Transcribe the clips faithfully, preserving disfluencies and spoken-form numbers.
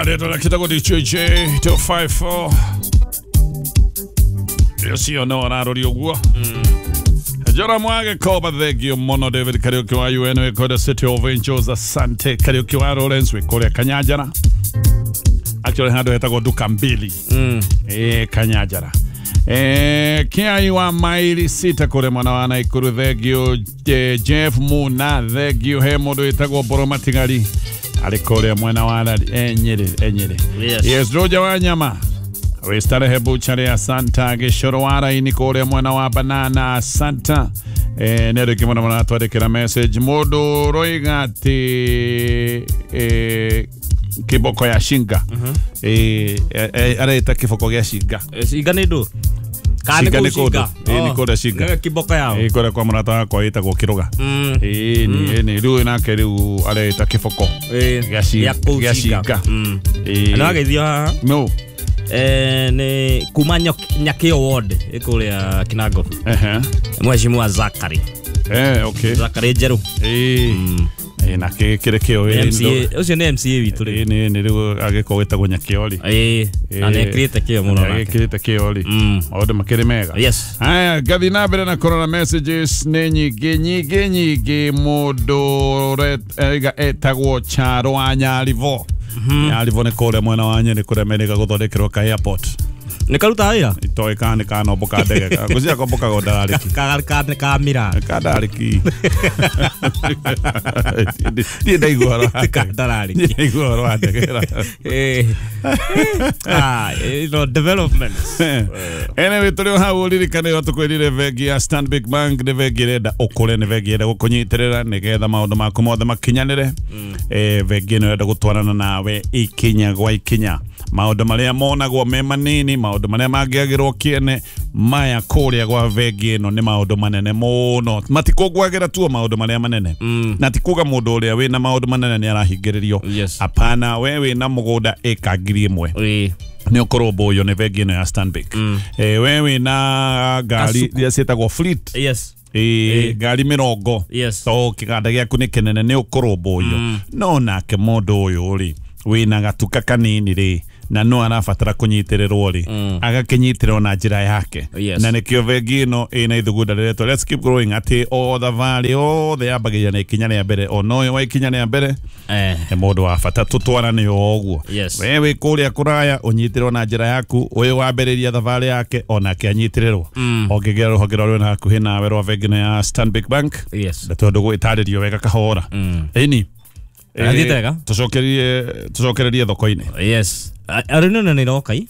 Rĩtwa rĩtagwo D J two five four. Ũcio no ararori ũguo. Jora Mwage Koba, thengio mũno. David Kariuki wa U N wĩ kũrĩa City of Angels, asante. Kariuki wa Lawrence wĩ kũrĩa Kanyanjara. Actually handũ hetagwo Duka Mbili. Mm. Eh, Kanyanjara. Eh, Kiai wa maili sita kũrĩa mwena wa Naikuru, thengio. Jeff Muna, thengio. He mũndũ wĩtagwo Mboro Matigari arĩ kũrĩa mwena wa eh, Nyeri, eh, Nyeri. Yes. Yes, Roja wa Nyama Wistarehe Buchari, asanta. Gĩcoro wa Raini kũrĩa mwena wa Banana, asanta. Eh, nĩ andũ aingĩ mũno maratwandĩkĩra message. Mũndũ ũroiga atĩ eh, kiboko ya shinga. Eh, eh, areta kiboko gĩa shinga. Shinga nĩ ndũ? Kana Shinga nĩ nĩ kũu kũndũ. Shinga? Ĩĩ, nĩ kũrĩa Shinga. Nĩ kiboko yao. Ĩĩ, kũrĩa kwa mũrata wakwa ĩtagwo Kĩrũga. Mm. Ĩĩ, nĩ nĩ rĩu nake rĩu areta kiboko Ĩĩ, gĩa shi- gĩa kũu gĩa Shinga. Shinga. Mm. Ĩĩ. Na wageithio haha? No. Eh, nĩ kuma Nyakĩo ward ĩ kũrĩa Kinango. Ehe. Mheshimiwa Zakari. Eh, okay. Zakari Njerũ. Ĩĩ. Ĩĩ, na kĩ kĩrĩ kĩo ĩĩ, M C A, ũcio nĩ M C A witũ rĩu. Ĩĩ, nĩ nĩ rĩu agĩkorwo gĩtagwo Nyakĩo rĩ. Ĩĩ, na nĩ ekĩrĩte kĩo mũno nake. Agĩkĩrĩte kĩo rĩ. Mm. Maũndũ makĩrĩ mega. Yes. Haya, ngathiĩ na mbere na kũrora messages nĩ nyingĩ nyingĩ nyingĩ. Mũndũ ũraiga etagwo Charo wa Nyaribo. Nyaribo nĩ kũrĩa mwena wa Nyeri kũrĩa merĩga gũthondekerwo ka airport. Nĩ karuta wĩra? Itoĩ kana nĩ kanomboka ndege. Ngwĩciria kombokaga ndararĩki. Ka ka ka kamira. Ka ndararĩki. Niĩ ndaigua ũhoro wa Ka ndege. ndararĩki. Niĩ ndaigua ũhoro wa ndege. Eh. Ah, you know, development. Anyway, tũrĩ o hau ũririkane o tũkwĩrire bengi ya Stanbic Bank nĩ bengi ĩrenda ũkũre, nĩ bengi ĩrenda gũkũnyitĩrĩra nĩgetha maũndũ maku mothe makinyanĩre. Eh, bengi ĩno ĩrenda gũtwarana nawe ikinya gwa ikinya. Maũndũ marĩa monagwo me manini, maũndũ marĩa mangĩagĩrwo kĩene, maya kũrĩa gwa bengi ĩno nĩ maũndũ manene mũno. Matikũgwagĩra tu maũndũ marĩa manene. Na ti kuga mũndũ ũrĩa wĩna maũndũ manene nĩ arahingĩrĩrio. Yes. Hapana, we wĩna mũgũnda ĩka ngiri ĩmwe Ĩĩ. nĩ ũkũrũmbũyio nĩ bengi ĩno ya Stanbic. Eh, we wĩna ngari Kasuku. iria ciĩtagwo fleet. Yes. Ĩĩ, ngari mĩrongo. Yes. To kĩganda gĩaku nĩ kĩnene nĩ ũkũrũmbũyio. No nake mũndũ ũyũ rĩ wĩna gatuka kanini rĩ na no arabatara kũnyitĩrĩrwo rĩ agakĩnyitĩrĩrwo na njĩra yake. Yes. Na nĩkĩo bengi ĩno ĩna ithugunda rĩretwo Let's Keep Growing, atĩ o thabarĩ yothe yambagĩrĩria na ikinya rĩa mbere, ona ũyũ wa ikinya rĩa mbere Eh. nĩ mũndũ wa bata tũtwarane o ũguo. Yes. We wĩ kũrĩa kũraya ũnyitĩrĩrwo na njĩra yaku, ũyũ wambĩrĩria thabarĩ yake onake anyitĩrĩrwo. Ũngĩgera rũhonge rũrĩa rwĩna hakuhĩ nawe rwa bengi ĩno ya Stanbic Bank, Yes. na tondũ gwĩtarĩrio wega kahora. Ĩni. Athiĩte wega? Tũcokererie tũcokererie thoko-inĩ. Yes. Arĩ nĩ nĩ ĩroka i?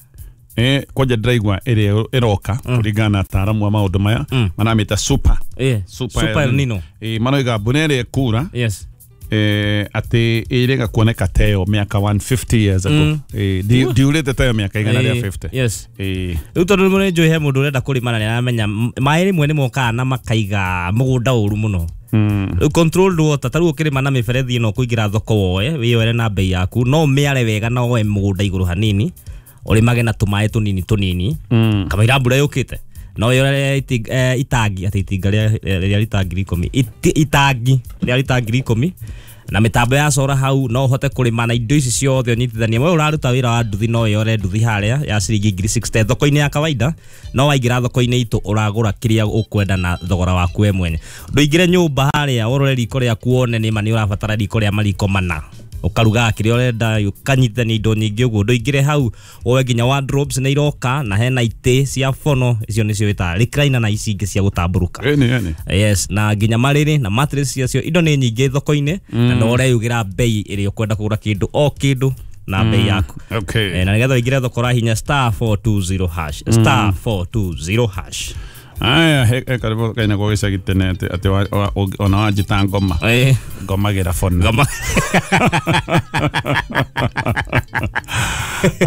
Eh, kwanja ndĩraigua ĩrĩa ĩroka kũringana na ataaramu a maũndũ maya maramĩta super. Ĩĩ. Super El Nino. Ĩĩ, maroiga mbura ĩrĩa ĩkura Yes. eh, atĩ ĩrĩga kuoneka teyo mĩaka one fifty years ago. Ĩĩ, ndi- ndiurĩte teyo mĩaka igana rĩa fifty. Yes. Ĩĩ. Rĩu tondũ nĩ njũĩ he mũndũ ũrenda kũrĩma na nĩaramenya maĩ rĩmwe nĩ mokaga na makaiga mũgũnda ũru mũno. Rĩu controlled water, ta rĩu ũkĩrĩma na mĩberethi ĩno ũkũingĩra thoko woe, wĩyoere na bei yaku, no ũmĩare wega na woe mũgũnda igũrũ hanini, ũrĩmage na tũmaĩ tũnini tũnini, kamũira mbura yũkĩte. No wĩyoere itangi, atĩ itinga rĩa rĩa rita ngiri ikũmi, itangi rĩa rita ngiri ikũmi, na mĩtambo ya cora hau no ũhote kũrĩma na indo ici ciothe ũnyitithanie. We ũraruta wĩra wa nduthi no wĩyore nduthi harĩa ya ciringi ngiri sixty thoko-inĩ ya kawaida, no waingĩra thoko-inĩ itũ ũragũra kĩrĩa ũkwenda na thogora waku we mwene. Ndũingĩre nyũmba harĩa ũrore riko rĩaku wone nĩma nĩ ũrabatara riko rĩa mariko mana, ũkarugaga kĩrĩa ũrenda, ũkanyitithania indo nyingĩ ũguo. Ndũingĩre hau woe nginya wardrobes nĩ iroka na hena itĩ cia bono, icio nĩcio wĩtaga recliner na ici ingĩ cia gũtambũrũka. Ĩni, ĩni. Yes, na nginya marĩrĩ na mattress ciacio, indo nĩ nyingĩ thoko-inĩ na no ũreyugĩra bei ĩrĩa ũkwenda kũgũra kĩndũ o kĩndũ na bei yaku. Okay. Eh, na nĩgetha ũingĩre thoko ũrahinya star four two zero hash, star four two zero hash. Aya, he karibu kaina kwa gĩcagi tene atĩ atĩ ona wanjĩta ngoma. Eh. Ngomagĩra bona. Ngoma.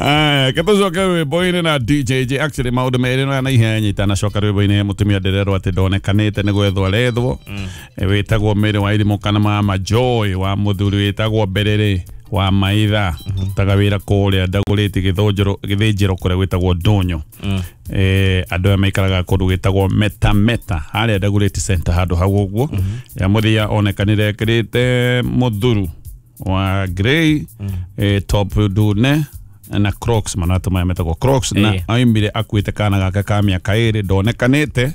Aya, ketũcoke rwĩmbo-inĩ na D J J. Actually maũndũ merĩ no na ihenya itanacoka rwĩmbo-inĩ, mũtumia ndĩrerwo atĩ ndonekanĩte nĩ gwethwo arethwo. Wĩtagwo Mary wa Irimũ kana Mama Joy wa mũthuri wĩtagwo Mberere wa Maitha, taga wĩra kũrĩa ndagũrĩte gĩthũnjĩro gĩthĩnjĩro kũrĩa gwĩtagwo Ndũnyũ. Eh, andũ aya maikaraga kũndũ gwĩtagwo Meta Meta harĩa Ndagũrĩti Center handũ hau ũguo. Ya mũthia onekanire ekĩrĩte mũthuru wa grey eh, top ndune na Crocs manatũ maya metagwo Crocs na Ĩĩ. aimire akuĩte kana gake ka mĩaka ĩrĩ ndonekanĩte.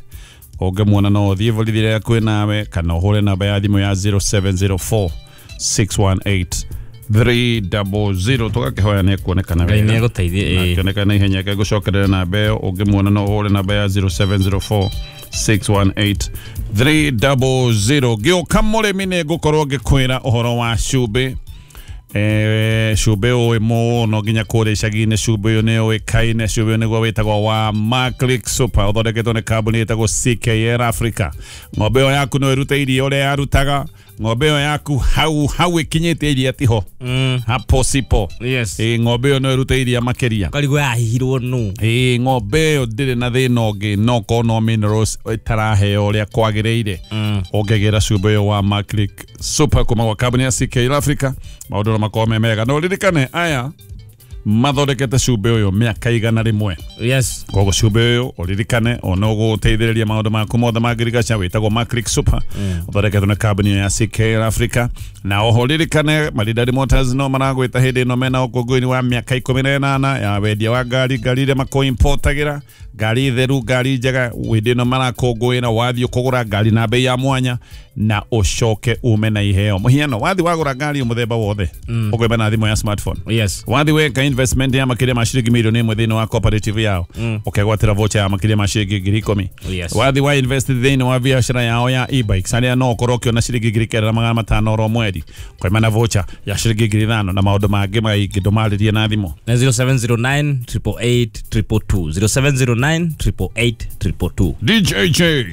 Ũngĩmuona no ũthiĩ borithi rĩrĩa kwĩ nawe kana ũhũre namba ya thimũ ya zero seven zero four six one eight three double zero tũgakĩhoya nĩ ekuonekana Ngai wega. nĩ egũteithie, Na ĩĩ. akĩonekana na ihenya reke ngũcokerere namba ĩyo ũngĩmuona no ũhũre namba ya zero seven zero four six one eight three double zero. Ngĩũka mũrĩmi nĩ ngũkorwo ngĩkwĩra ũhoro wa cumbĩ. Eh, cumbĩ ũĩ mũno nginya kũrĩa icagi-inĩ cumbĩ ũyũ nĩ ũĩkaine. Cumbĩ ũyũ nĩguo wĩtagwo wa Maclick Super ũthondeketwo nĩ kambuni ĩtagwo C K L Africa. Ng'ombe ĩyo yaku no ĩrute iria ũrĩa yarutaga. Ng'ombe ĩyo yaku hau hau ĩkinyĩte iria tiho Mm. hapo sipo. Yes. Ĩ ng'ombe ĩyo no ĩrute iria makĩria. Karigwo yahihirwo nũ. Ĩ ng'ombe ĩyo ndĩrĩ na thĩna ũngĩ no korwo no minerals ĩtaraheo ũrĩa kwagĩrĩire. Ũngĩgĩra cumbĩ ũyũ wa Maclick Super kuma gwa kambuni ya C K L Africa maũndũ no makorwo me mega. No ririkane aya mathondekete cumbĩ ũyũ mĩaka igana rĩmwe. Yes. Koguo cumbĩ ũyũ ũririkane ona ũgũteithĩrĩria maũndũ maku mothe ma ngirigaca wĩtagwo Maclick Super ũthondeketwo nĩ kambuni ya C K L Africa. Na oho ririkane Maridadi Motors no maragwĩta hĩndĩ ĩno mena ũkũngũĩri wa mĩaka ikũmi na ĩnana ya wendia wa ngari, ngari iria makũimportagĩra, ngari theru, ngari njega. Hĩndĩ ĩno marakũngũĩra wathiĩ kũgũra ngari na bei ya mwanya na ũcoke ume na iheo. Mũhiano wathiĩ wagũra ngari mũthemba wothe ũkwĩba na thimũ ya smartphone. Yes. Wathi weka investment ya makĩria ma ciringi milioni ĩmwe thĩinĩ wa cooperative yao ũkegwatĩra voucher ya makĩria ma ciringi ngiri ikũmi. Yes. Wathi wa invest thĩinĩ wa biacara yao ya e-bikes arĩa no ũkorwo ũkĩona ciringi ngiri kenda na magana matano oro mweri ũkaima na voucher ya ciringi ngiri ithano na maũndũ mangĩ maingĩ ndũmarĩrie na thimũ. Na zero seven zero nine triple eight triple two. zero seven zero nine triple eight triple two. D J J.